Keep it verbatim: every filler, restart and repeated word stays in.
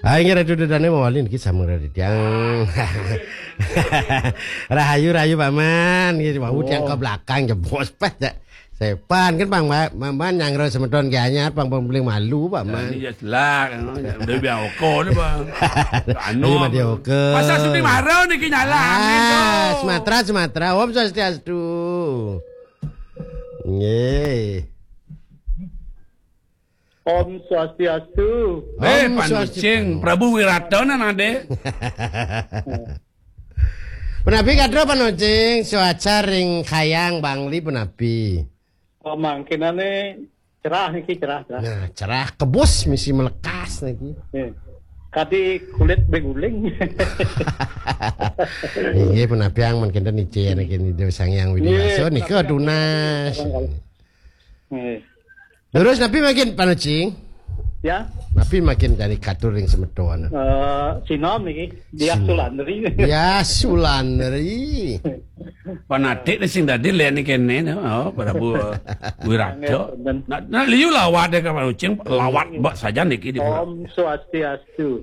Ah, inggih Ratu Dedane mawali niki sama Ratu Tiang. Rahayu, rahayu, Paman. Nggih, wau tiang ke belakang jebos pas ya. Sepan kan Bang, Paman nyangro semeton ke anyar, Bang, Bang, paling malu, Paman. Ini ya selak, anu, ya, udah biar oko ni, Bang. Anu, Ayo, Madi Oke. Pasal Sudi Maro niki nyalah angin tu. Ah, Sumatera, Sumatera. Om Swastiastu. Nggih. Om Swastiastu. Eh, Om Pak Swastiastu. Nucing, Prabu Wirata nan ade. Punapi katro Pak Nucing, cuaca ring Khayang Bangli punapi? Oh, mangkinane cerah niki, cerah, cerah. Nah, cerah kebus misi melekas niki. Eh, kadi kulit beguling. Inggih punapi ang mangkin nicen niki Ida Sang Hyang Widi Nggih, Wasa nika punapi tunas. Barangkali. Eh. Terus napi mangkin Pak Nucing? Ya. Napi mangkin dari katur ring semeton? Eh, sinom niki, Diah Sin- Sulandri. Diah Sulandri. Panatik ni sing dadi len kene, no. Oh, Prabu Wirata. Nggih, wonten. Nah, nah, liu lawat deh ka Pak Nucing, lawat mbak saja niki di Om Swastiastu.